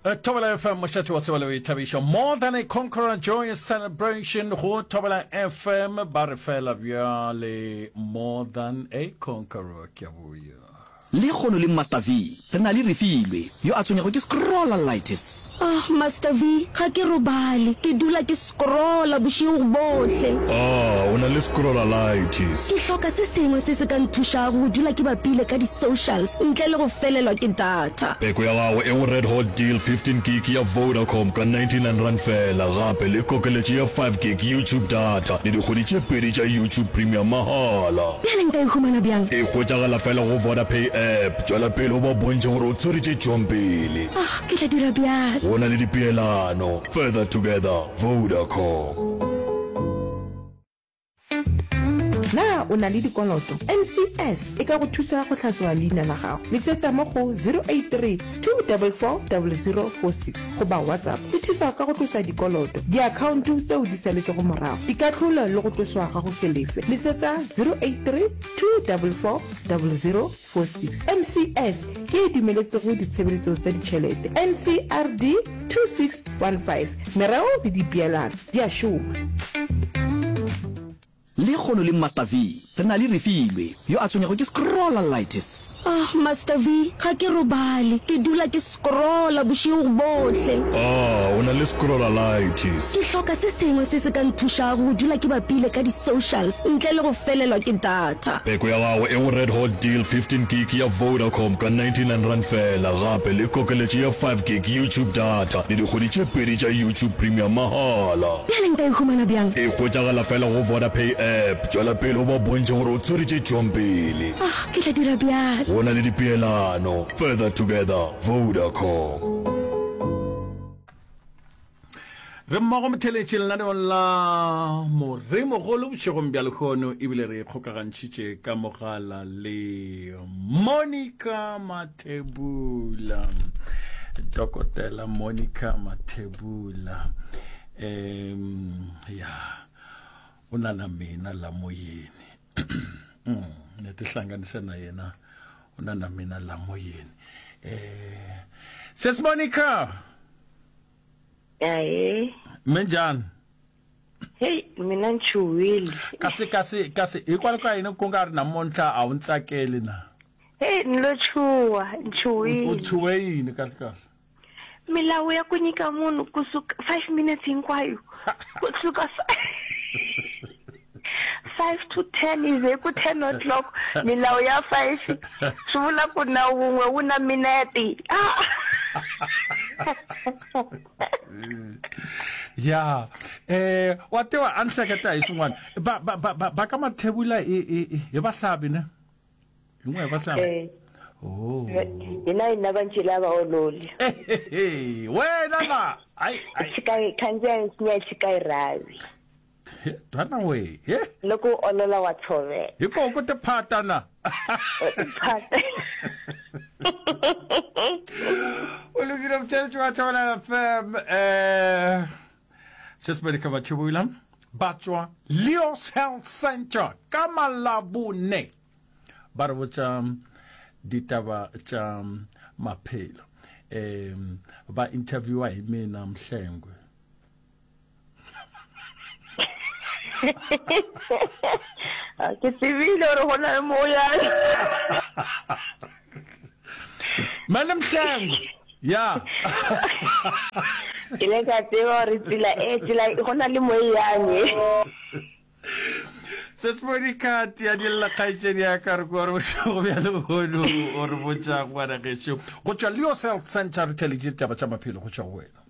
Thobela FM, mošate wa tsebo le boithabišo. More than a conqueror, joyous celebration go Thobela FM. Ba re fela bjale, more than a conqueror. Ke a boya. Lekgono le Master V, re na le Refilwe, yo a tshwenyago ke scrollalitis. Ah, Master V, ga ke robale. Ke dula ke scrolla bošego bohle. Ah, o na le scrollalitis. Ke hloka se sengwe se se ka nthušago go dula ke bapile ka di-socials ntle le go felelwa ke data. Peko ya gago e go Red Hot Deal 15 gig ya Vodacom ka R99 feela, gape le kokeletšo ya 5 gig YouTube data le dikgwedi tše pedi tša YouTube Premium mahala. Bjale nka e humana bjang? E hwetšagala fela go Vodapay app. Tšwela pele o ba bontšhe gore o tshwere tše tšwang pele. Ah, ke tla dira bjalo. Go na le dipeelano. Further together, Vodacom. Na o na le dikoloto? NCS e ka go thusa go hlatsoa leina la gago. Letsetsa mo go 083 244 0046 goba WhatsApp. E thusa ka go tlosa dikoloto, diakhaonto tseo di saletšego morago, dikahlolo le go tloswa ga go se lefe. Letsetsa 083 244 0046. NCS ke e dumeletsego ditshebeletso tsa ditšhelete. NCRD 2615. Mereo le dipeelano di a šoma. Lekgono le Master V, re na le Refilwe, yo a tshwenyago ke scrollalitis. Ah, Master V, ga ke robale. Ke dula ke scrolla bošego bohle. Ah, o na le scrollalitis. Ke hloka se sengwe se se ka nthušago go dula ke bapile ka di-socials ntle le go felelwa ke data. Peko ya gago e go Red Hot Deal 15 gig ya Vodacom ka R99 feela, gape le kokeletšo ya 5 gig YouTube data le dikgwedi tše pedi tša YouTube Premium mahala. Bjale nka e humana bjang? E hwetšagala fela go Vodapay app. Tšwela pele o ba bontšhe gore o tshwere tše tšwang pele. Ah, ke tla dira bjalo. Go na le dipeelano. Further together, Vodacom. Re mmogo motheletši lenaneong la Moremogolo bošegong bja lehono ebile re ikgokagantšhitše ka mogala le Monica Mathebula. Dokotela Monica Mathebula. Um ya o na na mina la moyeni. Mm, ne tihlanganise na yena o na na mina la moyeni. Eh Sis Monica. Ae. Minjhani? Hey, mina ni chuhile. Kasi kasi kasi hikwalaho ka yini ku nga ri namuntlha a wu ni tsakeli na? Hey, ni lo chuha, ni chuhile. U chuhe yini kahle kahle? Milawu ya ku nyika munhu kusuka 5 minutes hinkwayo. Kusuka 5 to 10 is ku 10 o'clock milawu ya 5 swi vula ku na wun'we wu na minete. Ah. Ya eh wa tiva a ni hleketa hi swin'wana ba ba ba ba ka Mathebula i i hi vahlavi ne hi n'we hi vahlavi eh. Oh. Hina hina va ncila va ololi. Wena la ai ai. Tshika khandziya nsinya tshika rhavi. Twana we. He. Loko u olola wa tshovela. Hi ko ku tiphata na. Tiphata. O lokile motšheletši wa Thobela FM eh se se Monica Mathebula ba tšwa Leos Health Center ka Malabone ba re botša ditaba tša maphelo um ba interviewa hi mina Mhlengwe ke tsebile gore go na le mo yang mane Mhlengwe ya ke le ka tseba gore tsela e tsela go na le mo e yang e Sesmodikati ya dilla kgaetšedi ya ka re kwa re bošego bja lehono o re botša ngwana gešo go tšwa Leos Health Center re theleditše ditaba tša maphelo go tšwa go wena.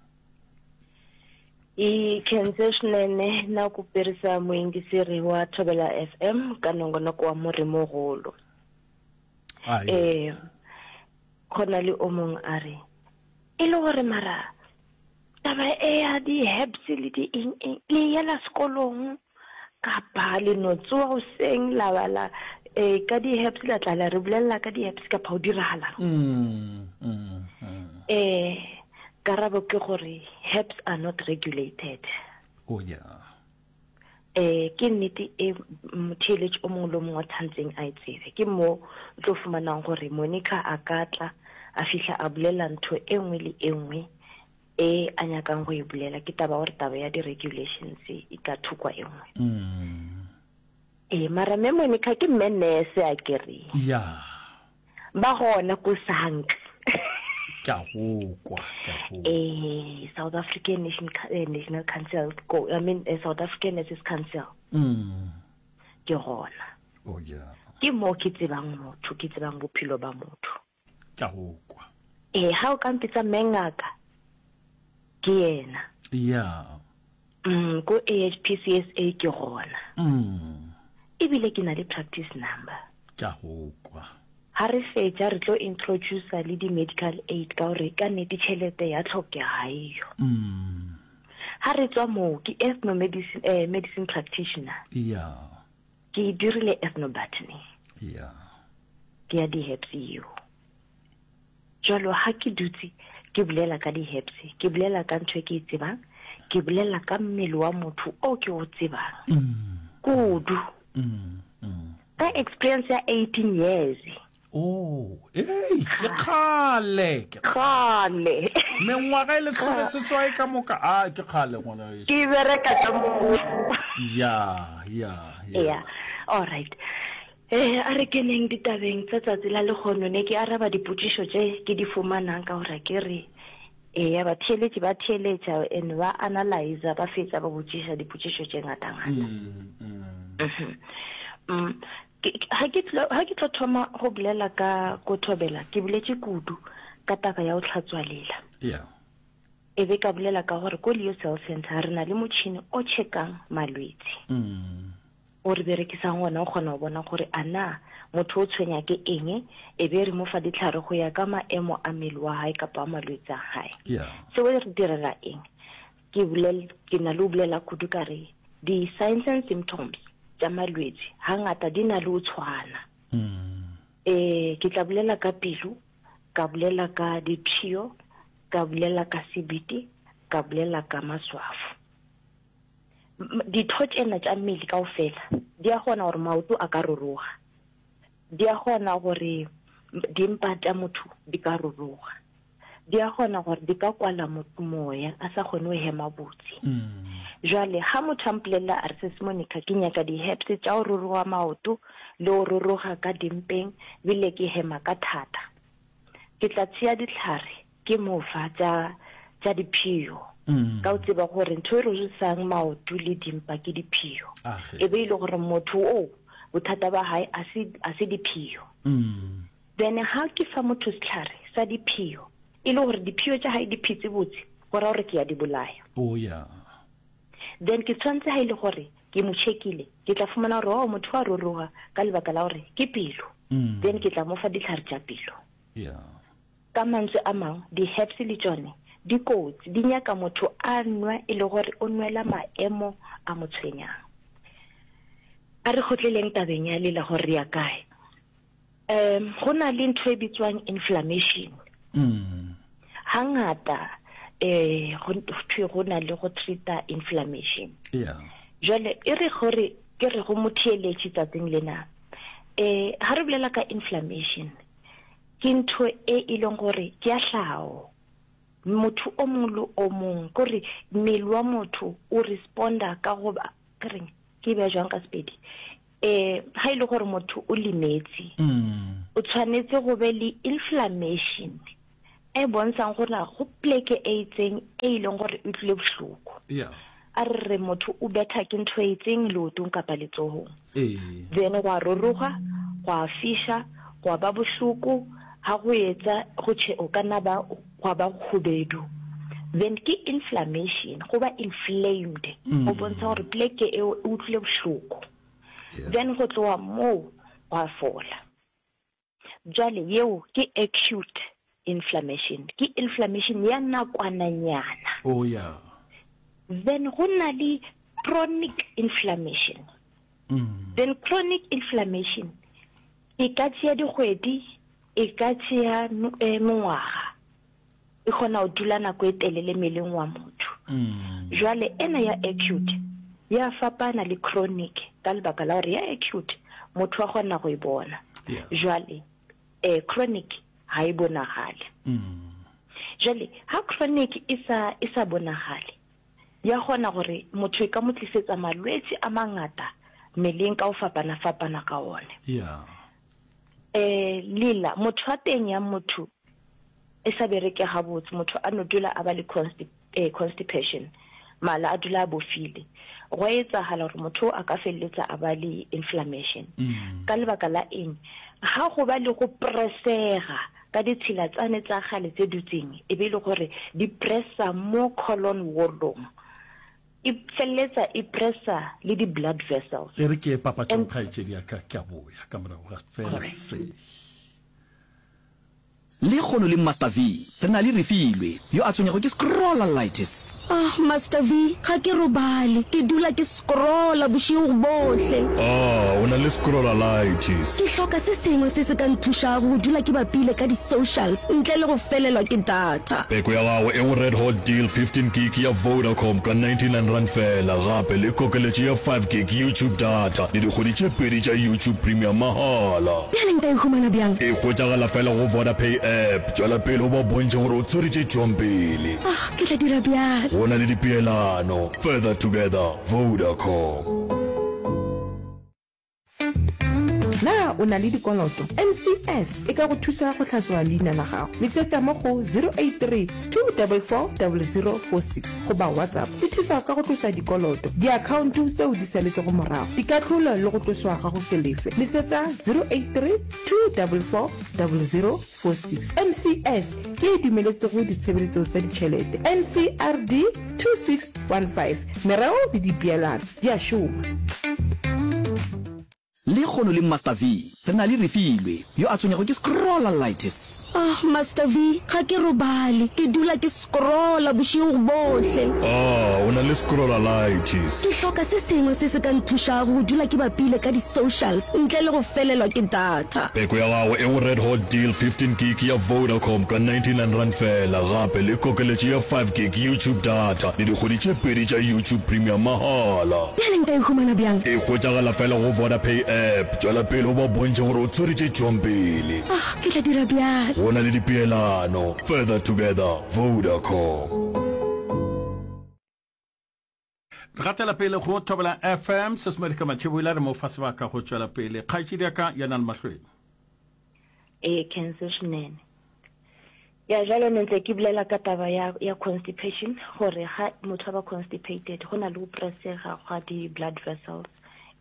I khense swinene na ku perisa muyingiseri wa Thobela FM ka nongonoko wa Murhi-Muhulu. Eh, go na le o mong a re, e le gore mara taba e ya di-herbs le di eng eng le yela sekolong kapa le no tsoa goseng la ba la eh, ka di-herbs la tla la re bolelela ka di-herbs kapa go diragalang mm, mm, mm. eh karabo ke gore herbs are not regulated oh, yeah. eh ke nnete e motheeletši o mongwe le o mongwe wa tshwantseng a e tsebe ke mo o tlo fumanang gore monica a ka tla a fihla a bolela ntho e nngwe le e nngwe. E a nyakang go e bolela ke taba gore taba ya di-regulations e ka thokwa e nngwe. Mm. Ee, mara Mme Monica ke mme nurse a ke re. Ya. Ba gona ko SANC. Ke a go kwa, ke a go. Ee, South African Nation, eh, National Council, go, I mean, eh, South African Nurses Council. Mm. Ke gona. Oh, yeah. Ke mo ke tsebang motho, ke tsebang bophelo ba motho. Ke a go kwa. Ee, ga o ka mpitsa mme ngaka, ke yena. Ya. Mm, ko AHPCSA ke gona. Mm. Ebile ke na le practice number. Ke a go kwa. Ha re fetša re tlo introducer le di-medical aid ka gore ka nnete tšhelete ya tlhokega ga eyo. Mm. Ha re tswa moo ke ethno medicine, eh, medicine practitioner. Ya. Ke e dirile ethnobotany. Ya. Ke ya di-herbs eo. Jalo ha ke dutse ke bolela ka di-herbs, ke bolela ka ntho e ke e tsebang, ke bolela ka mmele wa motho o ke o tsebang. Mm. Kudu. Mm. Mm. Ka experience ya 18 years. Oh, ei, ke kgale, ke kgale. Mengwaga e lesome seswai ka moka. A ke kgale ngwana weso. Ke bereka ka mo. Ya, ya, ya. Ya. All right. Eh, a re keneng ditabeng tsa tsatsi la lekgono ne ke araba dipotšišo tše ke di fumanang ka gore ke re eya batheeletši ba theeletša and ba analyza ba fetša ba botšiša dipotšišo tše ngata-ngata. Mm, mm. Mhm. Mm. Ga ke tlo, ga ke tlo thoma go bolela ka ko thobela, ke boletše kudu ka taba ya go hlatswa lela. Yeah. E be ka bolela ka gore ko Leo Cell Center re na le motšhini o checkang malwetsi. Mm. O re berekisang ona o kgona go bona gore a na motho o tshwenya ke eng, e be re mo fa ditlhare go ya ka maemo a mmele wa hae kapa a malwetsi a hae. Yeah. Seo re direla eng? Ke bolel, ke na le go bolela kudu ka re di-signs and symptoms tša malwetši hangata di na le go tshwana. Eh, ke tla bolela ka pelo, ka bolela ka dipshio, ka bolela ka sebete, ka bolela ka maswafo. Ditho tšena tša mmele kaofela di a kgona gore maoto a ka ruruga, di a kgona gore dimpa tša motho di ka ruruga. Di a kgona gore di ka kwala motho moya, a sa kgone go hema botse. Jwale ga motho a mpolelela a re, Sis Monica, ke nyaka di-herbs tša go ruruga maoto le go ruruga ka dimpeng, bile ke hema ka thata. Ke tla tšea dihlare ke mo fa tša, tša diphio, ka go tseba gore ntho e rurugisang maoto le dimpa ke diphio. E be e le gore motho oo bothata ba hae a se, a se diphio. Then ha ke fa motho sehlare sa diphio, e le gore diphio tša hae di phetse botse, go ra gore ke ya di bolaya. Oh yeah. Then ke tshwanetse ha e le gore ke mo checkile, ke tla fumana gore oh motho wa ruruga ka lebaka la gore ke pelo. Then ke tla mo fa dihlare tša pelo. Yeah. Ka mantswe a mangwe, di-herbs le tšone di kotsi, di nyaka motho a nwe e le gore o nwela maemo a mo tshwenyang. A re kgotleleng tabeng ya lela gore re ya kae. Um go na le ntho e bitswang inflammation. Mm. Hangata eh go thwe go na le go treata inflammation. Yeah. Jwale e re gore ke re go motheeletši tsatsing lena. Eh ha re bolela ka inflammation ke ntho e e leng gore ke ya tlhago. Motho o mongwe le o mongwe kore mmele wa motho o responda ka go ba ke reng ke bea jwang ka Sepedi Eh, ga e le gore motho o lemetse, o tshwanetse go be le inflammation e bontshang gore go pleke e itseng e e leng gore e tlile bohloko. Yeah. A re re motho o betha ke ntho e itseng leotong kapa letsogong. Ee. Then gwa roroga, gwa fisha, gwa ba bohloko, ha go etsa go che o ka nna ba gwa ba khubedu. Then ke inflammation, go ba inflamed, go bontsha gore pleke eo e utlwile bohloko. Then go tloga moo gwa fola. Bjale yeo ke acute inflammation, ke inflammation ya nakwananyana. Oh yeah. Then go na le chronic inflammation. Then chronic inflammation e ka tšea dikgwedi, e ka tšea mengwaga. E kgona go dula nako e telele mmeleng wa motho. Jwale ena ya acute ya fapana le chronic ka lebaka la gore ya acute motho wa kgona go e bona. Jwale eh chronic ga e bonagale. Jwale ha chronic e sa e sa bonagale, ya kgona gore motho e ka mo tlisetsa malwetši a mangata mmeleng ka go fapana-fapana ga one. Yeah. Eh, lela, motho wa teng ya motho e sa bereke gabotse, motho a no dula a ba le consti, eh, constipation, mala a dula a bofile. Gwa etsagala gore motho a ka feleletsa a ba le inflammation. Mm. Ka lebaka la eng? Ga go ba le go presega ka ditshila tsane tsa gale tse dutseng, e be e le gore di pressa mo colon wallong. E feleletsa e pressa le di blood vessels. E re ke ye papatšong kgaetšedi ya ka, ke a boya ka morago ga fela se. Lekgono le Master V, re na le Refilwe, yo a tshwenyago ke scrollalitis. Ah, Master V, ga ke robale. Ke dula ke scrolla bošego bohle. Ah, o na le scrollalitis. Ke hloka se sengwe se se ka nthušago go dula ke bapile ka di-socials ntle le go felelwa ke data. Peko ya gago e go Red Hot Deal 15 gig ya Vodacom ka R99 feela, gape le kokeletšo ya 5 gig YouTube data le dikgwedi tše pedi tša YouTube Premium mahala. Bjale nka e humana bjang? E hwetšagala feela go Vodapay app. Tšwela pele o ba bontšhe gore o tshwere tše tšwang pele. Ah, ke tla dira bjalo. Go na le dipeelano. Further together, Vodacom. Na o na le dikoloto? NCS e ka go thusa go hlatswa leina la gago. Letsetsa mo go 083 244 0046 goba WhatsApp. Di thusa ka go tlosa dikoloto, diakhaonto tseo di saletšego morago, dikahlolo le go tloswa ga go se lefe. Letsetsa 083 244 0046. NCS ke e dumeletsego ditshebeletso tsa ditšhelete. NCRD 2615. Mereo le dipeelano di a šoma. Lekgono le Master V, re na le Refilwe, yo a tshwenyago ke scrollalitis. Ah, Master V, ga ke robale. Ke dula ke scrolla bošego bohle. Ah, o na le scrollalitis. Ke hloka se sengwe se se ka nthušago go dula ke bapile ka di-socials ntle le go felelwa ke data. Peko ya gago e go Red Hot Deal 15 gig ya Vodacom ka R99 feela, gape le kokeletšo ya 5 gig YouTube data le dikgwedi tše pedi tša YouTube Premium mahala. Bjale nka e humana bjang? E hwetšagala feela go Vodapay app. Tšwela pele o ba bontšhe gore o tshwere tše tšwang pele. Ah, ke tla dira bjalo. Go na le dipeelano. Further together, Vodacom. Re gatela pele go Thobela FM, Sesmedika Matšheboila re mo fa sebaka go tšwela pele. Kgaetšedi ya ka ya na le mahlweng. Ee, Kense swinene. Ya jalo ne ntse ke bolela ka taba ya ya constipation gore ga motho a ba constipated go na le go pressega ga di blood vessels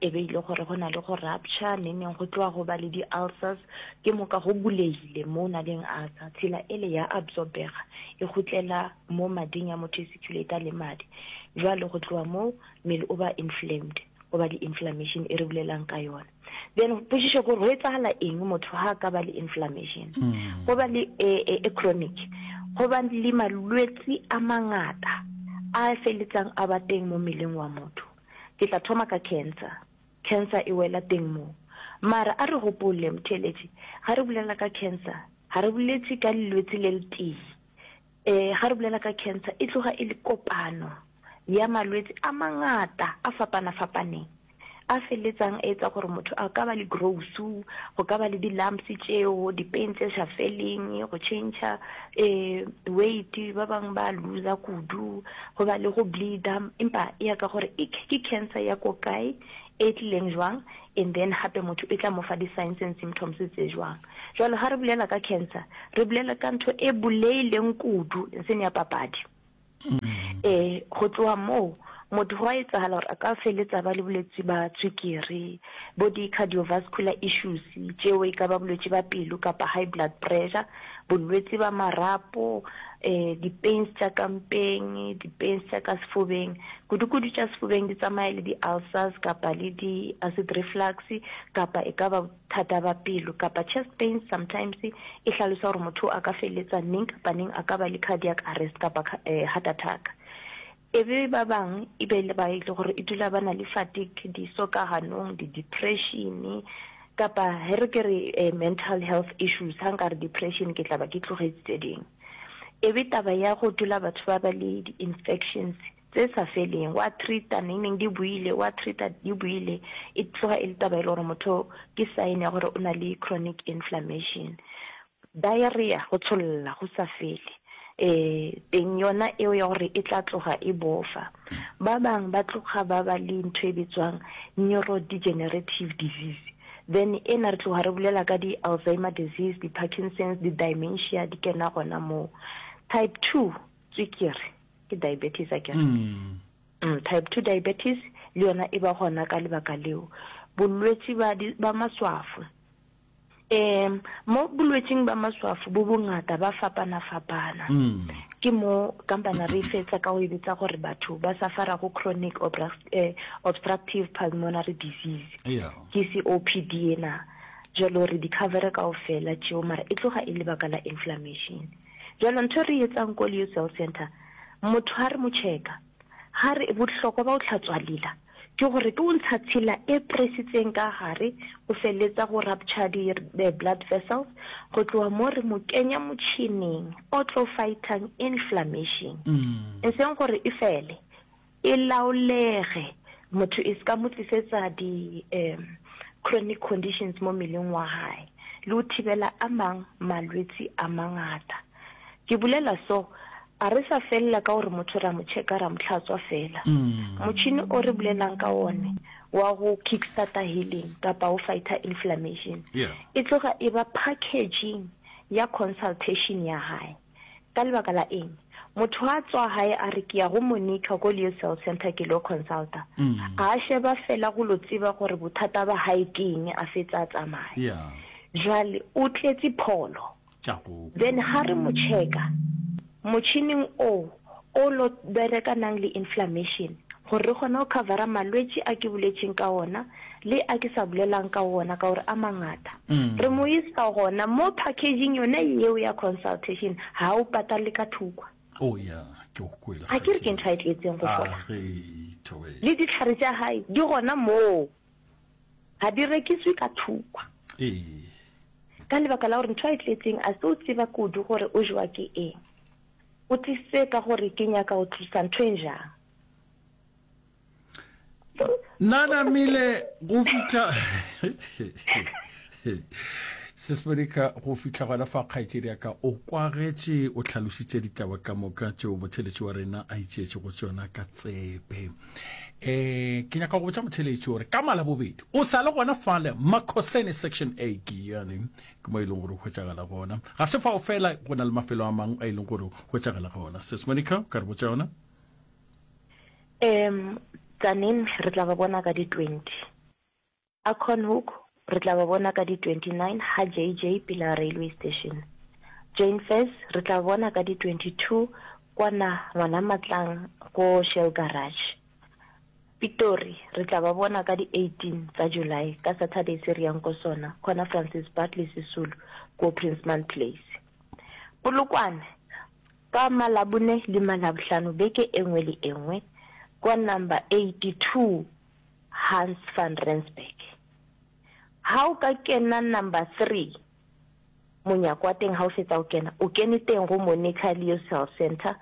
e be ile gore go na le go rupture neneng go tloga go ba le di ulcers ke moka go bulegile mo o na leng ulcer tshela ele ya absorbega e gotlela mo mading ya motho e circulate le madi jwale go tloga mo mmele o ba inflamed go ba le inflammation e re bolelang ka yona Then potšišo ke gore go etsagala eng motho ha a ka ba le inflammation mm. go ba le e, e, e chronic go ba le malwetsi a mangata a feletsang a ba teng mo mmeleng wa motho ke tla thoma ka cancer cancer e wela teng mo mara a re gopole motheeletši ga re bolela ka cancer ga re boletse ka lelwetsi le le tee um ga re bolela ka cancer e tloga e le kopano ya malwetsi a mangata a fapana-fapaneng a feleletsang a etsa gore motho a ka ba le growth, go ka ba le di-lumps tšeo, di-pain tše sa feleng, go change eh, weight, ba bangwe ba loser kudu, go ba le go bleeder, empa e ya ka gore e ke cancer ya ko kae, e tlileng jwang, and then gape motho e tla mo fa di-signs and symptoms tse jwang. Jwale ga re bolela ka cancer, re bolela ka ntho e boleileng kudu, e seng ya papadi. Ee, go tloga moo motho go a etsagala gore a ka feletsa ba le bolwetsi ba tswikiri, bo di-cardiovascular issues tšeo e ka ba bolwetši ba pelo kapa high blood pressure, bolwetsi ba marapo, um di-pains tša ka mpeng, di-pains tša ka sefubeng, kudu-kudu tša sefubeng di tsamaya le di-ulcers kapa le di-acid reflux kapa e ka ba Thata ba pelo kapa chest pains sometimes e hlalosa gore motho a ka feleletsa neng kapa neng a ka ba le cardiac arrest kapa heart attack. E be ba bang e be le ba e le gore e dula ba na le fatigue, diso ka ganong, di-depression kapa he re ke re mental health issues, ha nka re depression ke tla ba ke tlogetše tse dingwe. E be taba ya go dula batho ba ba le di-infections tse sa feleng, wa treata neng neng di buile, wa treata di buile, e tloga e le taba e le gore motho ke sign ya gore o na le chronic inflammation. Diarrhea, go tsholla go sa fele. Eh, teng yona eo ya gore e tla tloga e bofa. Ba bang ba tloga ba ba le ntho e bitswang neurodegenerative disease. Then ena re tloga re bolela ka di-Alzheimer disease, di-Parkinson's, di-dementia di kena gona moo. Type 2 tswikiri ke diabetes akere. Mm. Mm, type 2 diabetes le yona e ba gona ka lebaka leo. Bolwetši ba, ba maswafo Um mo bolwetšing ba maswafo bo bongata ba fapana-fapana. Ke mo kampana re fetsa ka go e bitsa gore batho ba safarago chronic eh, obstructive pulmonary disease. Yeah. Ke COPD ena. Jalo re di covere kaofela tšeo mara e tloga e lebaka la inflammation. Jalo ntho e re e etsang ko Leo Cell Center, motho ha re mo checka, ha re bohlokwa ba ho tlhatswa lela ke gore ke o ntsha tshila e presitseng ka gare go feletsa go rupture di blood vessels go tloga mo re mo kenya motšhineng o tlo fightang inflammation e seng gore e fele e laolege motho e se ka mo tlisetsa di um chronic conditions mo mmeleng wa hae le go thibela a mang malwetsi a mangata. Ke bolela so, a re sa felela ka gore motho ra mo checka ra mo hlatswa fela. Motšhini o re bolelang ka one wa go kick-starter healing kapa go fighter inflammation, Yeah. e tloga e ba packaging ya consultation ya hae. Ka lebaka la eng? Motho a tswa hae a re ke ya go Monica ko Leo Cell Center ke lo consulta. A sheba fela go lo tseba gore bothata ba hae ke eng a fetsa a tsamaya. Yeah. Jwale o tletse pholo. tša go. Then ha re mo checka motšhining oo o lo berekanang le inflammation gore re kgone go covera malwetši a ke boletšeng ka ona le a ke sa bolelang ka ona ka gore a mangata. Re mo isa gona mo packaging yone yeo ya consultation ha o patale ka thukwa. Oh yeah, ke go kwele. A ke re ke ntho a e tletseng go fola. A ge, Thobela. Le ditlhare tša hae di gona moo. Ga di rekiswe ka thukwa. Ee. Ka lebaka la gore ntho a e tletseng a se o tseba kudu gore o jewa ke eng. O tlisitse ka gore ke nyaka go tlosa ntho e jang. Nna namile go fihla Sis Monica go fihla gona fa kgaetšedi ya ka o kwagetše o hlalošitše ditaba ka moka tšeo motheletši wa rena a itšeetše go tšona ka tsebe. Eh ke nyaka go botša motheletši gore ka malabobedi o sa le gona fale Makhosene section A ke yane ke mo e leng gore o hwetšagala gona. Ga se fao fela go na le mafelo a mangwe a e leng gore o hwetšagala gona. Sis Monica o ka re botša yona? Um Tzaneen re tla ba bona ka di 20. Acornhoek re tla ba bona ka di 29 ha JJ pela railway station. Jane Furse re tla bona ka di 22 kwana ngwana Matlang ko Shell Garage. Pitori re tla ba bona ka di 18 tsa July ka Saturday se re yang ko sona khona Francis Bartley Sisulu ko Princeman Place. Polokwane ka Malabone le Malabohlano beke e nngwe le e nngwe kwa number 82 Hans van Rensburg. Ha o ka kena number 3 monyako wa teng ha o fetsa o kena, o kene teng go Monica Leo Health Centre.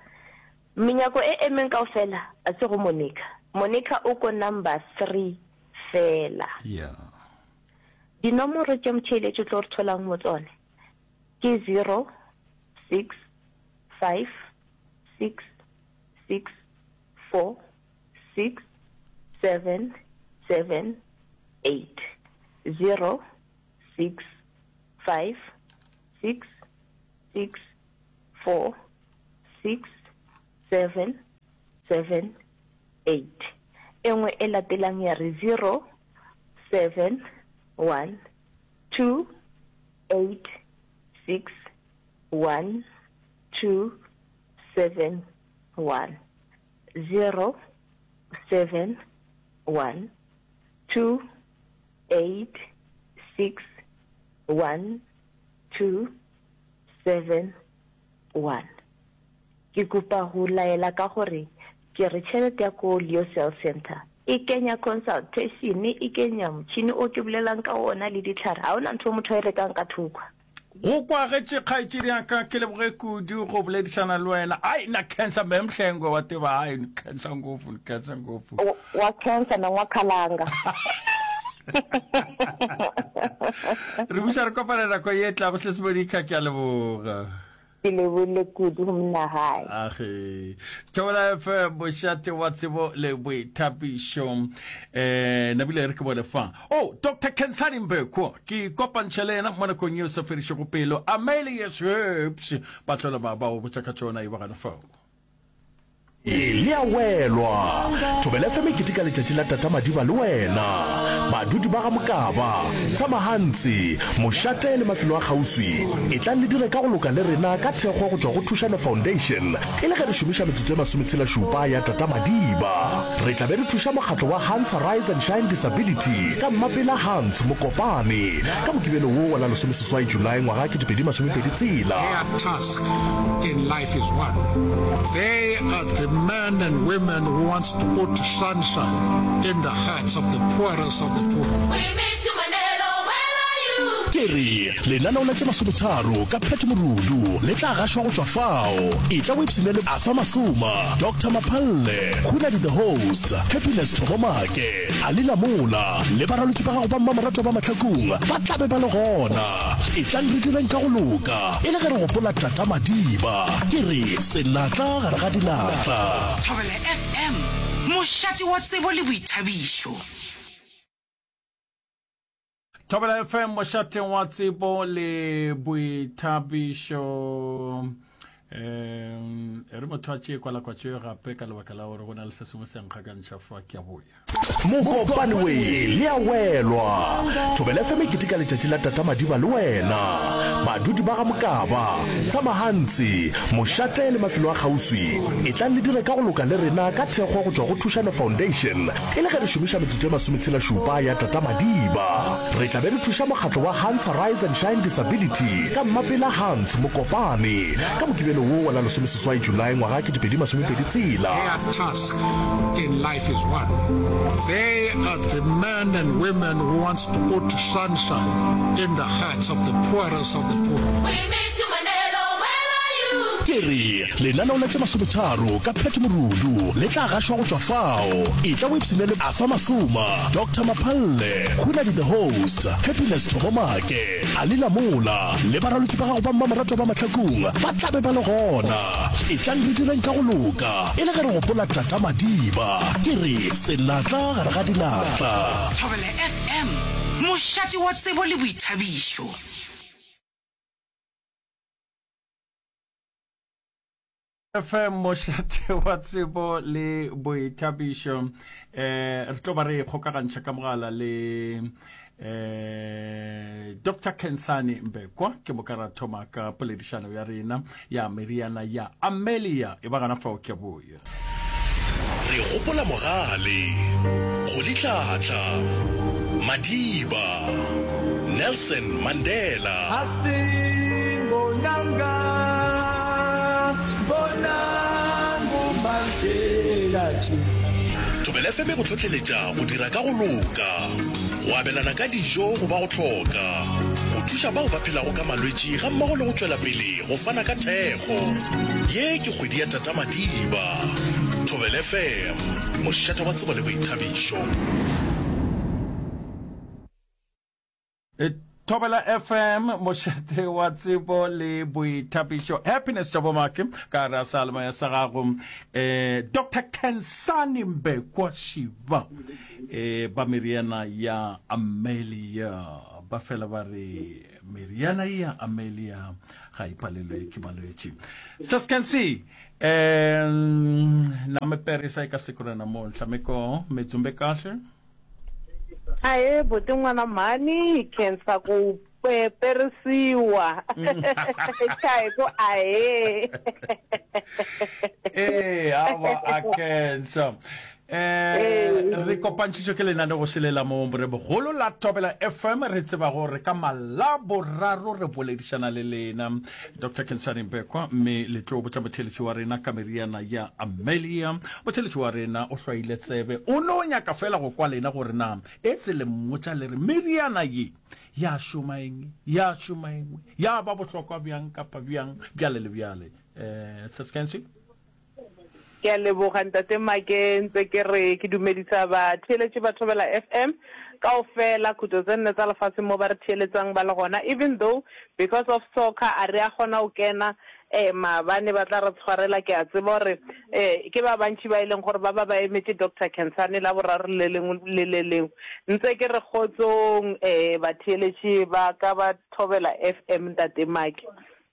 Menyako e emeng kaofela a se go Monica. Monica o ko number 3 fela. Yeah. Dinomoro tše motheeletši o tlo re tholang mo tsone ke 0 6 5 6 6 4 6 7 7 8 0 6 5 6 6 4 6 7 7 8. E nngwe e latelang ya re 0 7 1 2 8 6 1 2 7 1 0 7 1 2 8 6 1 2 7 1. Ke kopa go laela ka gore ke re tšhelete ya ko Leo Cell Centre e kenya consultation, e kenya motšhini o ke bolelang ka wona le dihlare. Ga ona ntho motho a e rekang ka thoko. Go kwagetše kgaetšedi ya ka, ke leboge kudu go boledišana le wena. Ai, na khensa me Mhlengwe wa teba, ai, ni khensa ngopfu, ni khensa ngopfu. Wa khensa na wa khalanga. Re buša re kopana nako ye tlago, Sis Monica, ke a leboga. Ke lebogile kudu go monnagae. Age. Thobela FM, mošate wa tsebo le boithabišo. Eh, nabile re ke bone fa. Oh, Dr. Khensani Mbekwa, ke kopantšha le yena mo nakong yeo sa fedišego pelo. Amelius Herbs, ba tlola ba ba o botša ka tšona e ba gana fao. Le a welwa! Thobela FM e keteka letšatši la Tata Madiba le wena. Badudi ba ga Mokaba, Tshamahantsi, Mošate le mafelo a kgauswi, etlang le dire ka go loka le rena ka thekgo go tšwa go Thušano Foundation e le ge re šomiša metsotso e masometshela-šupa ya Tata Madiba. Re tla be re thuša mokgatlo wa Hans Rise and Shine Disability ka Mmapela Hans Mokopane ka Mokibelo wo wa la lesomeseswai Julae ngwaga 2026. Their task in life is one. They are the men and women who wants to put sunshine in the hearts of the poorest of the poor. We miss you Manelo, where are you? Ke re, lenaneo la tše masometharo ka Pat Morudu le tla gašwa go tšwa fao. Etla o ipshine le Arthur Masoma, Doctor Maphalle, Khunadi the Host, Happiness Thobo Make, Ali Lamola le baraloki ba gago ba mmamoratwa ba Mahlakung ba tla be ba le gona. Etlang re direng ka go loka e le ge re gopola Tata Madiba. Ke re senatla gare ga dinatla. Thobela FM, mošate wa tsebo le boithabišo. Thobela FM, mošate wa tsebo le boithabišo. Um e re motho a tšee kwalakwatšo gape ka lebaka la gore go na le se sengwe se nkgakantšha fa ke a boya. Mokopane we le a welwa. Thobela FM e keteka letšatši la Tata Madiba le wena. Badudi ba ga Mokaba, Tshamahantsi, Mošate le mafelo a kgauswi, etlang le dire ka go loka le rena ka thekgo go tšwa go Thušano Foundation e le ge re šomiša metsotso e masometshela-šupa ya Tata Madiba. Re tla be re thuša mokgatlo wa Hans Rise and Shine Disability ka Mmapela Hans Mokopane ka Mokibelo wo wa la lesomeseswai Julae ngwaga 2026. Their task in life is one. They are the men and women who wants to put sunshine in the hearts of the poorest of the poor. We miss you Manelo, where are you? Ke re, lenaneo la tše masometharo ka Pat Morudu le tla gašwa go tšwa fao. Etla o ipshine le Arthur Masoma, Doctor Maphalle, Khunadi the Host, Happiness Thobo Make, Ali Lamola le baraloki ba gago ba mmamoratwa ba Mahlakung ba tla be ba le gona. Etlang re direng ka go loka e le ge re gopola Tata Madiba. Ke re senatla gare ga dinatla. Thobela FM, mošate wa tsebo le boithabišo. FM mošate wa tsebo le boithabišo. Um re tlo ba re kgokagantšha ka mogala le eh Dr Khensani Mbekwa ke moka ra thoma ka poledišano ya rena ya meriana ya Amelia e ba gana fao ke boya. Re gopola Mogale, Rolihlahla, Madiba, Nelson Mandela. Thobela FM e go hlohleletša go dira ka go loka, go abelana ka dijo go ba go hloka, go thuša bao ba phelago ka malwetši gammogo le go tšwela pele go fana ka thekgo. Ye ke kgwedi ya Tata Madiba. Thobela FM, mošate wa tsebo le boithabišo. Thobela FM, mošate wa tsebo le boithabišo. Happiness Tobomake, ka re a sa lemaya sa gago. Eh, Dr. Khensani Mbekwa Shiba, eh, ba meriana ya Amelia. Ba fela ba re meriana ya Amelia ga e palelwe ke malwetši. Saskensi, eh, na me perisa e ka sekorena mo nhlameko metsumbe kahle. Ahee buti n'wana mhani hi khensa ku perisiwa cha hi ku ahee. Ee awa a khensa. Eh re kopantšhitšwe ke lenaneo šele la mo Morebogolo la Thobela FM re tseba gore ka Malaboraro re boledišana le lena Doctor Khensani Mbekwa mme le tlo botša motheeletši wa rena ka meriana ya Amelia. Motheeletši wa rena o hlwaile tsebe o no nyaka fela go kwa lena gore na etse le mmotša le re meriana ye ya šoma eng ya šoma engwe ya ba bohlokwa bjang kapa bjang bjale le bjale. Eh Sis Kensi? Ke a leboga Ntate Make, ntse ke re ke dumedisa batheeletši ba Thobela FM kaofela khutlo tse nne tsa lefatshe mo ba re theeletsang ba le gona even though because of soccer a re a kgona go kena. um maabane ba tla re tshwarela ke a tseba gore um ke ba bantši ba e leng gore ba ba ba emetše Doctor Khensani Laboraro le lengwe le le lengwe. Ntse ke re kgotsong um batheeletši ba ka ba Thobela FM Ntate Maki.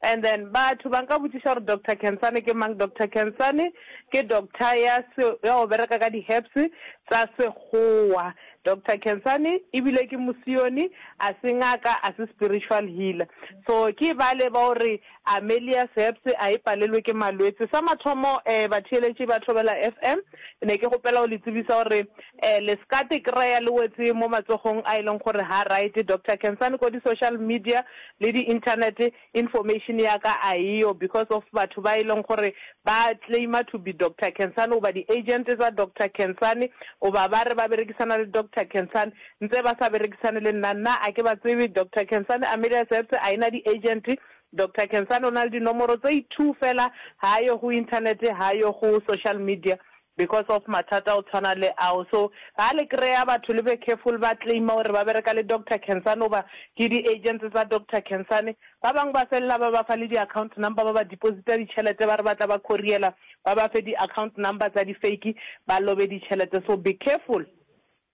And then batho ba nka botšiša gore Doctor Khensani ke mang? Doctor Khensani ke doctor ya se ya go bereka ka di-herbs tsa sekgowa. Doctor Khensani ebile ke mosione, a se ngaka, a se spiritual healer. So ke bale ba gore Amelia's Herbs a e palelwe ke malwetse. Sa mathomo eh batheeletši ba Thobela FM, ne ke kgopela go le tsebisa gore eh le ska te kreya le wetse mo matsogong a e leng gore ha right. Doctor Khensani ko di social media le di internet information ya ka a eyo because of batho ba e leng gore ba claima to be Doctor Khensani goba di agent tsa Doctor Khensani goba ba re ba berekisana le Doctor Khensani ntse ba sa berekisane le nna nna a ke ba tsebe Doctor Khensani Amelia Sebse a ena di agent Doctor Khensani o na le dinomoro tse two fela ha yo go internet ha yo go social media because of mathata a go tshwana le ao so ga le kry-a batho le be careful ba claima gore ba bereka le Doctor Khensani goba ke di agents tsa Doctor Khensani ba bangwe ba felela ba ba fa le di account number ba ba deposita ditšhelete ba re ba tla ba couriela ba ba fe di account number tsa di fake ba lobe ditšhelete so be careful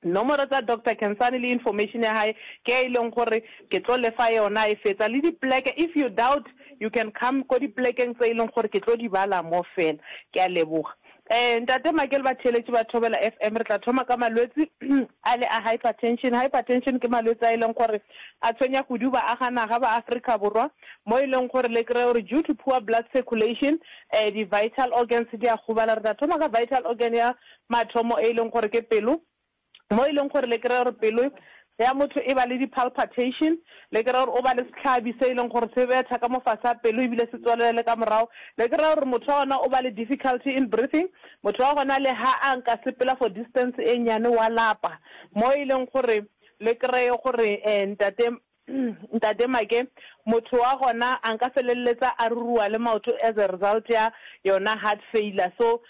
Nomoro tsa Doctor Khensani le information ya hae ke e leng gore ke tlo le fa yona e fetsa le dipleke if you doubt you can come ko diplekeng tse e leng gore ke tlo di bala mo fela. Ke a leboga. Eh Ntate Make le batheeletši ba Thobela FM re tla thoma ka malwetsi a le a hypertension. Hypertension ke malwetsi a e leng gore a tshwenya kudu baaga naga ba Afrika Borwa mo e leng gore le kry-e gore due to poor blood circulation eh di vital organs di a gobala. Re tla thoma ka vital organ ya mathomo e leng gore ke pelo, mo e leng gore le kry-a gore pelo ya motho e ba le di-palpitation, le kry-a gore o ba le sehlabi se e leng gore se betha ka mo fase ga pelo ebile se tswelela le ka morago, le kry-a gore motho wa gona o ba le difficulty in breathing, motho wa gona le ha a nka sepela for distance e nnyane wa lapa, mo e leng gore le kry-e gore ntate Ntate Make, motho wa gona a nka felelletsa a ruruwa le maoto as a result ya yona heart failure. So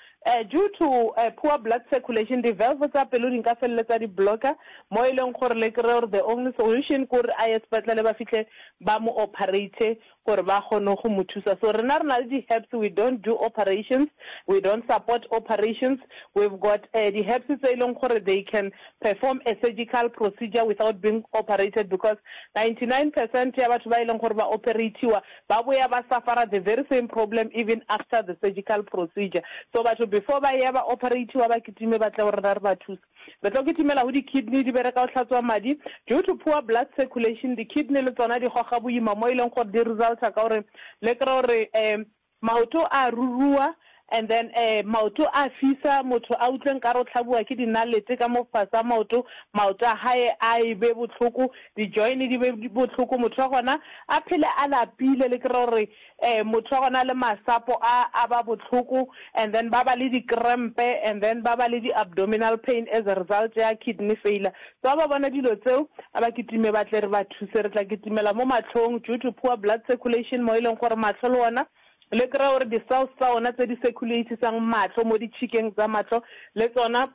due to poor blood circulation di valve tsa pelo di nka felelletsa di blocka mo e leng gore le kry-e gore the only solution ke gore a ye sepetlele ba fihle ba mo operate gore ba kgone go mo thusa. So rena re na le di-herbs, we don't do operations, we don't support operations, we've got di-herbs tse e leng gore they can perform a surgical procedure without being operated because 99 percent ya batho ba e leng gore ba operatiwa ba boya ba suffera the very same problem even after the surgical procedure. So batho before ba ya ba operatiwa ba kitime ba tle go rena re ba thuse. Re tlo kitimela go di-kidney, di bereka go hlatswa madi. Due to poor blood circulation, di-kidney le tsona di goga boima mo e leng gore di resulta ka gore le kry gore um maoto a rurua and then um maoto a fisa, motho a utlwe nkare o hlabiwa ke dinalete ka mo fase ga maoto, maoto a hae a e be bohloko, di-join di be bohloko, motho wa gona a phele a lapile, le kry gore Eh motho wa gona le masapo a a ba bohloko and then ba ba le di krempe and then ba ba le di abdominal pain as a result ya kidney failure. So ha ba bona dilo tseo a ba kitime ba tle re ba thuse. Re tla kitimela mo mahlong due to poor blood circulation mo e leng gore mahlo le ona le kry-a gore di cells tsa ona tse di circulatisang mahlo mo ditšhikeng tsa mahlo le tsona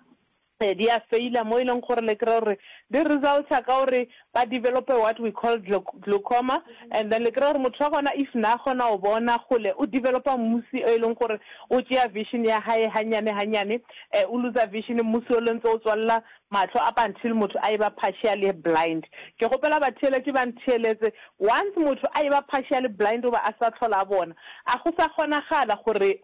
di a faila mo e leng gore le kry-a gore di resulta ka gore ba develope what we call glaucoma and then le kry-a gore motho wa gona if na kgona go bona kgole o developa mmusi e leng gore o tšea vision ya hae hanyane hanyane o loser vision mmusi o le ntse o tswalela mahlo up until motho a e ba partially blind. Ke kgopela batheeletši ba ntheeletse once motho a e ba partially blind goba a sa tlhola a bona a go sa kgonagala gore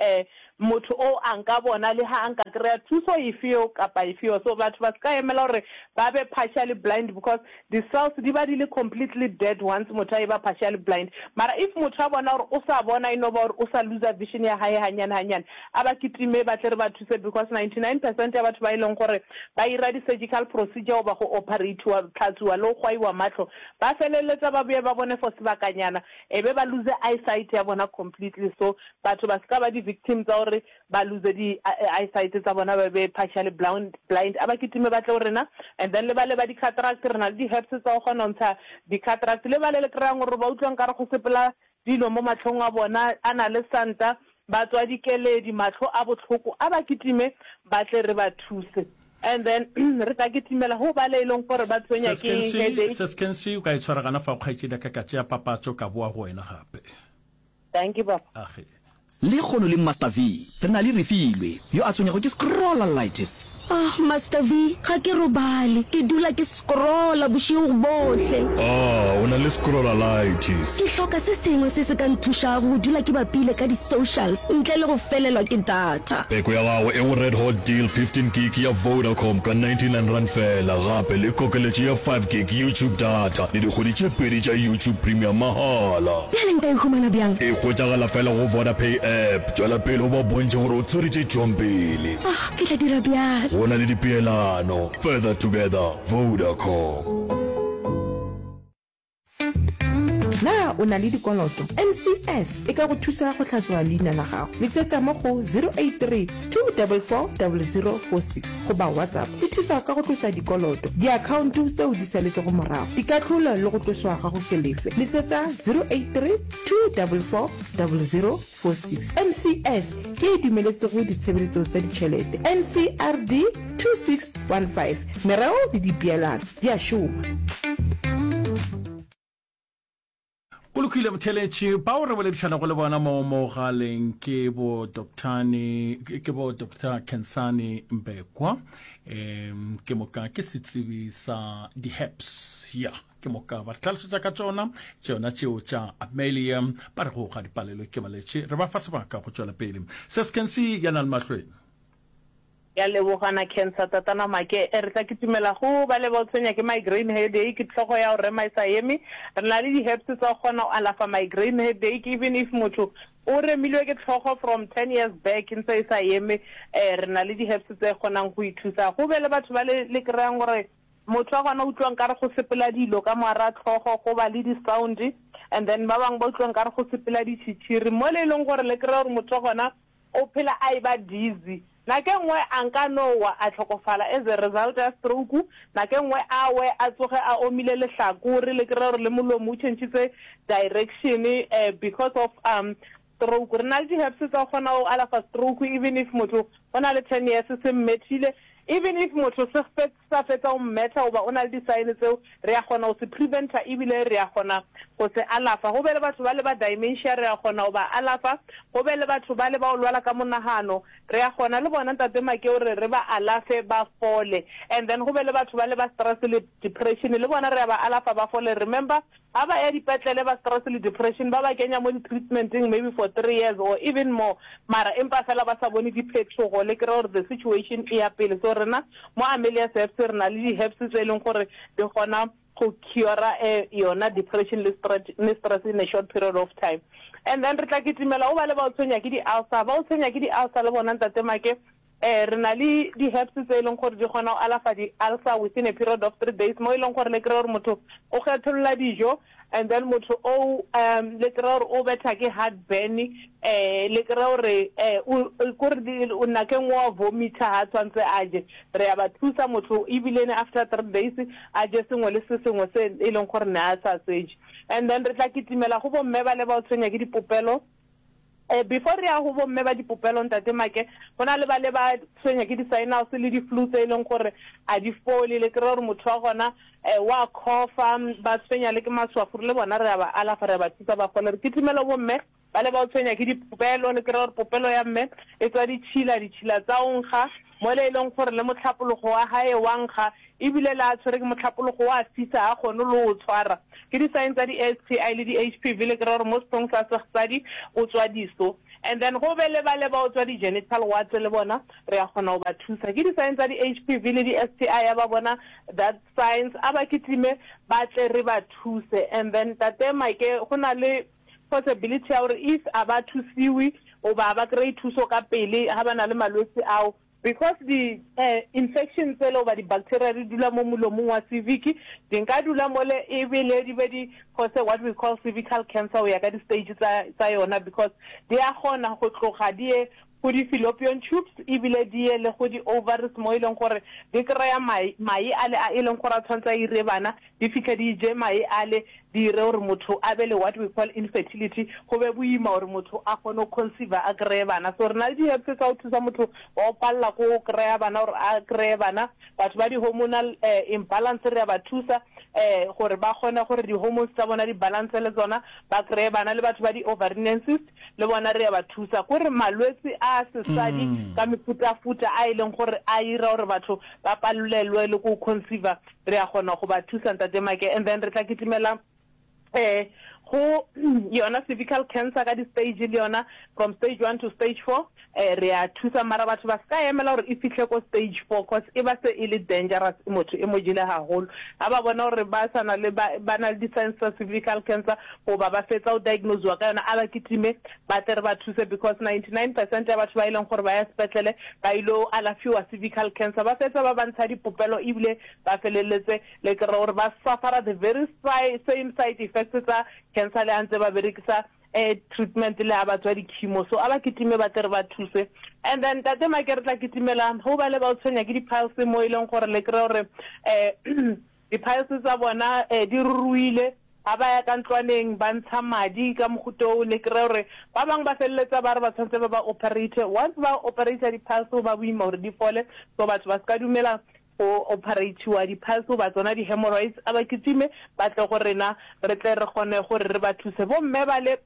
Motho o a nka bona le ha a nka kry-a thuso efeo kapa efeo. So batho ba se ka emela gore ba be partially blind because di cells di ba di le completely dead once motho a eba partially blind. Mara if motho a bona gore o sa bona e no ba gore o sa looser vision ya hae hanyane hanyane, a ba kitime ba tle re ba thuse because 99 percent ya batho ba e leng gore ba ira di surgical procedure goba go operate-iwa, tlhatswiwa le go gwaiwa mahlo ba feleletsa ba boye ba bone for sebakanyana e be ba lose eyesight ya bona completely. So Batho ba se ka ba di victim tsa gore ba lose di eyesight tsa bona ba be partially blind, blind. A ba kitime ba tle go rena and then le bale ba di cataract re na le di herbs tsa go kgona go ntsha di cataract. Le bale le kry-ang gore ba utlwa nkare go sepela dilo mo mahlong a bona a na le santa ba tswa dikeledi mahlo a bohloko a ba kitime ba tle re ba thuse and then re tla kitimela go bale e leng gore ba tshwenya ke headache. Sis Kensi, o ka e tshwara gana fao kgaetšedi ya ka, ka tšea papatšo ka boa go wena gape. Dankie baba. Age. Lekgono le Master V, re na le Refilwe, yo a tshwenyago ke scrollalitis. Ah, Master V, ga ke robale. Ke dula ke scrolla bošego bohle. Ah, o na le scrollalitis. Ke hloka se sengwe se se ka nthušago go dula ke bapile ka di-socials ntle le go felelwa ke data. Peko ya gago e go Red Hot Deal 15 gig ya Vodacom ka R99 feela, gape le kokeletšo ya 5 gig YouTube data le dikgwedi tše pedi tša YouTube Premium mahala. Bjale nka e humana bjang? E hwetšagala fela go Vodapay app. Tšwela pele o ba bontšhe gore o tshwere tše tšwang pele. Ah, ke tla dira bjalo. Go na le dipeelano. Further together, Vodacom. Na o na le dikoloto? NCS e ka go thusa go hlatswa leina la gago. Letsetsa mo go 083 244 0046 goba WhatsApp. E thusa ka go tlosa dikoloto, diakhaonto tseo di saletšego morago, dikahlolo le go tloswa ga go se lefe. Letsetsa 083 244 0046. NCS ke e dumeletsego ditshebeletso tsa ditšhelete. NCRD 2615. Mereo le dipeelano di a šoma. Go lokile motheletši, bao re boledišanago le bona mo mogaleng ke bo Doctor ke bo Doctor Khensani Mbekwa, um ke moka ke setsebi sa di-herbs ya ke moka ba re tlhalosetša ka tšona tšona tšeo tša Amelia ba re go ga dipalelo ke maletše re ba fa sebaka go tšwela pele se se Kensi ya na le mahlweng. Ke a leboga na cancer tatana make re tla kitimela go ba le ba o tshwenya ke migraine headache hlogo ya go rema e sa eme re na le di herbs tsa go kgona go alafa migraine headache even if motho o remilwe ke hlogo from ten years back ntse e sa eme re na le di herbs tse kgonang go e thusa go be le batho ba le le kry-ang gore motho wa gona utlwa nkare go sepela dilo ka moara tlhogo go ba le di sound and then ba bangwe ba utlwa nkare go sepela ditšhitšhiri mo le e leng gore le kry-a gore motho wa gona O phela a eba dizzy. Nako e nngwe a nka no wa a hlokofala as a result ya stroke, nako e nngwe a we a tsoge a omile lehlakore, le kry-e gore le molomo o tšhentšhitse direction because of stroke. Re na le di-herbs tsa go kgona go alafa stroke even if motho o na le ten years se mmethile, even if motho se sa fetsa go mmetha goba o na le di-sign tseo, re a kgona go se prevent-a ebile re a kgona go se alafa. Go be le batho bale ba dementia re a kgona go ba alafa, go be le batho bale ba go lwala ka monagano re a kgona le bona Ntate Makeo re re ba alafe ba fole. And then go be le batho bale ba stress le depression le bona re a ba alafa ba fole. Remember Ga ba ya dipetlele ba stress le depression ba ba kenya mo di treatmenteng maybe for three years or even more mara empa fela ba sa bone diphethogo le kry gore the situation e ya pele. So rena mo Amelia's Herbs re na le di herbs tse e leng gore di kgona go cure yona depression le stress in a short period of time. And then re tla kitimela go ba le ba o tshwenya ke di ulcer, ba o tshwenya ke di ulcer le bona Ntate Make Ee, re na le di-herbs tse e leng gore di kgona go alafa di-ulcer within a period of three days, mo e leng gore le kry-e gore motho o kgetholola dijo and then motho o um le kry-e gore o betha ke heartburn, um le kry-e gore um kore nako e nngwe wa vomita ha tshwanetse a je. Re a ba thusa motho ebile after three days a je sengwe le se sengwe se e leng gore ne a sa se je. And then re tla kitimela go bomme ba le ba o tshwenya ke dipopelo. Eh, before re ya go bomme ba dipopelo ntate Make, go na le ba le ba tshwenya ke di-sinus le di-flu tse e leng gore a di fole, le kry-a gore motho wa gona um wa cough-a, ba tshwenya le ke maswafo, le bona re a ba alafa, re a ba thusa ba fole. Re kitimele bomme ba le ba o tshwenya ke dipopelo, le kry-a gore popelo ya mme e tswa ditšhila, ditšhila tsa o nkga, mole e leng gore le mohlapologo wa gae wa nkga, Ebile le a tshwere ke mohlapologo wa fisa ga kgone le o tshwara. Ke di sign tsa di STI le di HPV le kry-a gore mo sethong sa sexsadi o tswa diso. And then go be le bale ba o tswa di genital warts le bona re a kgona go ba thusa. Ke di sign tsa di HPV le di STI ya ba bona that signs a ba kitime ba tle re ba thuse. And then Tate Mike go na le possibility ya gore if a ba thusiwe goba ba kry-e thuso ka pele ga ba na le malwetse ao Because di infection tsele goba di bacteria di dula mo molomong wa cervix, di nka dula mole ebile di be di cause what we call cervical cancer go ya ka di stage tsa tsa yona because di a kgona go tloga di ye go di fallopian tubes ebile di ye le go di ovaries mo e leng gore di kry-a mae mae ale a e leng gore a tshwanetse a ire bana di fihle di je mae ale, di dire gore motho a be le what we call infertility, go be boima gore motho a kgone go conceiver a kry-e bana. So re na le di-herbs tsa go thusa motho wa go palela ko go kry-a bana gore a kry-e bana. Batho ba di-hormonal imbalance re a ba thusa. um gore ba kgone gore di-hormones tsa bona di balance le tsona ba kry-e bana. Le batho ba di-ovarian cyst le bona re ya ba thusa. Kore malwetse a sesadi ka mefutafuta a e leng gore a ira gore batho ba palelwe le ko conceiver re ya kgona go ba thusa Ntate Make. And then re tla kitimela um go yona cervical cancer ka di-stage le yona from stage one to stage four um re a thusa mara batho ba se ka emela gore e fihle ko stage four cause e ba se e le dangerous motho e mo jele haholo. Ga ba bona gore ba sa na le ba ba na le di-signs tsa cervical cancer goba ba fetsa go diagnosiwa ka yona a ba kitime ba tle re ba thuse because 99% ya batho ba e leng gore ba ya sepetlele ba ilo alafiwa cervical cancer ba fetsa ba ba ntsha dipopelo ebile ba feleletse Le kry-a gore ba suffera the very same side effects tsa cancer le ha ntse ba berekisa treatment le ha ba tswa di-chemo. So a ba kitime ba tle re ba thuse. And then Ntate Make re tla kitimela ho ba le ba o tshwenya ke di-piles mo e leng gore le kry-a gore di-piles tsa bona di ruruile. Ha ba ya ka ntlwaneng ba ntsha madi ka mohuta oo, le kry-a gore ba bangwe ba feleletsa ba re ba tshwanetse ba ba operate. Once ba operate di-piles go ba boima gore di fole, so batho ba se ka dumela go opereithiwa di-piles goba tsona di-hemorrhoids, a ba kitime ba tle go rena re tle re kgone gore re ba thuse. Bomme bale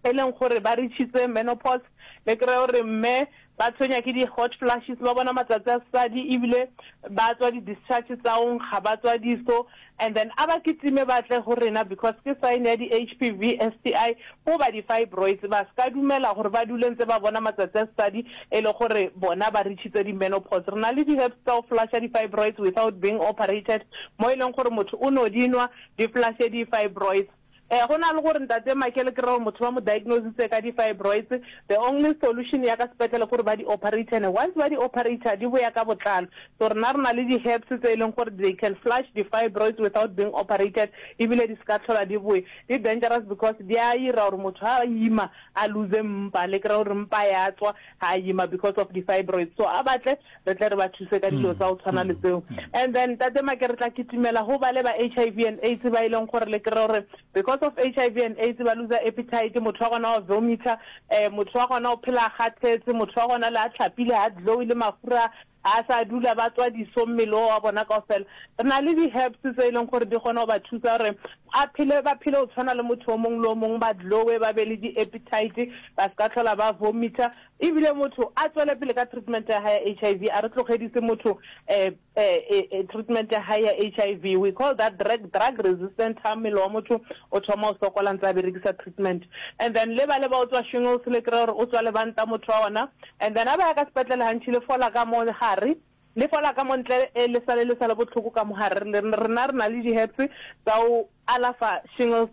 e leng gore ba reachitse menopause, le kry-e gore mme ba tshwenya ke di-hot flashes, ba bona matsatsi a sesadi ebile ba tswa di-discharge tsa go nkga, ba tswa diso, and then a ba kitime ba tle go rena because ke sign ya di-H_P_V, S_T_I goba di-fibroids. Ba se ka dumela gore ba dule ntse ba bona matsatsi a sesadi e le gore bona ba reachitse di-menopause. Re na le di-herbs tsa go flusha di-fibroids without being operated, mo e leng gore motho o no di nwa di flushe di-fibroids. Ee, go na le gore Ntate Michael ke re gore motho ba mo diagnositse ka di-fibroids, the only solution ya ka sepetlele ke gore ba di operate and once ba di operate di boya ka botlalo. So rena re na le di-herbs tse e leng gore they can flush di-fibroids without being operated ebile di se ka tlhola di boya. Di dangerous because di a ira gore motho ha a ima a lose mpa, le kry-a gore mpa ya tswa ha a ima because of di-fibroids. So a batle re tle re ba thuse ka dilo tsa go tshwana le tseo. And then Ntate Make re tla kitimela go bale ba HIV and AIDS ba e leng gore le kry-e gore because of HIV and AIDS ba loser appetite, motho wa gona wa vomiter, um motho wa gona o phela a kgathetse, motho wa gona le a hlapile ha glowe le mafura a sa dula ba tswa diso mmele o wa bona kaofela. Re na le di-herbs tse e leng gore di kgona go ba thusa gore a phele ba phele go tshwana le motho o mongwe le o mongwe, ba glowe, ba be le di-appetite, ba se ka tlhola ba vomiter. Ebile motho a tswele pele ka treatment ya hae ya HIV, a re tlogedise motho eh, eh, eh, treatment ya hae ya HIV. We call that drug, drug resistant, ha mmele wa motho o thoma o sokola ntse a berekisa treatment. And then le ba le ba o tswa shingles, le kry-a gore o tswa lebanta motho wa ona. And then a ba ya ka sepetlele gantši le fola ka mo gare, le fola ka mo ntle, eh, le sale le sa le bohloko ka mo gare. Rena re na le di-herbs tsa go alafa shingles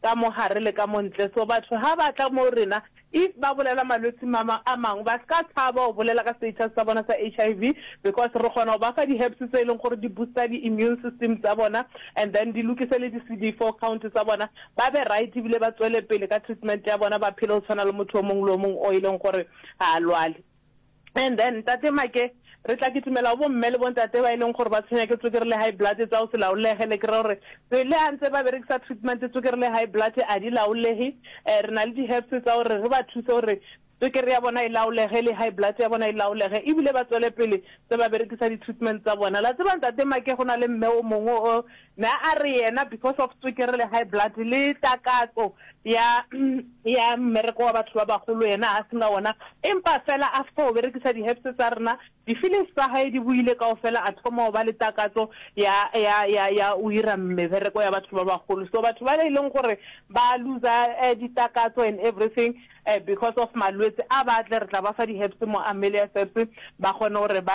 ka mo gare le ka mo ntle. So batho ha ba tla mo rena if ba bolela malwetsi ma a mangwe ba ska tshaba go bolela ka status sa bona sa HIV because re kgona go ba fa di herbs tse e leng gore di booster di immune system tsa bona and then di lokise le di CD4 count tsa bona ba be right ebile ba tswele pele ka treatment ya bona ba phele go tshwana le motho o mongwe le o mongwe o e leng gore ga a lwale. And then Ntate Make, re tla kitimela go bomme le bontate ba e leng gore ba tshwenya ke tswekere le high blood tsa go se laolege, le kry-a gore le ha ntse ba berekisa treatment tswekere le high blood a di laolege. Re na le di-herbs tsa gore re ba thuse gore tswekere ya bona e laolege le high blood ya bona e laolege ebile ba tswele pele tse ba berekisa di-treatment tsa bona. La tseba Ntate Make go na le mme o mongwe o ne a re yena because of tswekere le high blood le takatso ya ya mmereko wa batho ba bagolo yena a sena wona empa fela after go berekisa di-herbs tsa rena di-feelings tsa hae di boile kaofela a thoma go ba le takatso ya ya ya ya o ira mebereko ya batho ba bagolo. So batho ba e leng gore ba loser eh, ditakatso and everything eh, because of malwetse a ba tle re tla ba fa di-herbs mo Amelia's Herbs ba kgone gore ba.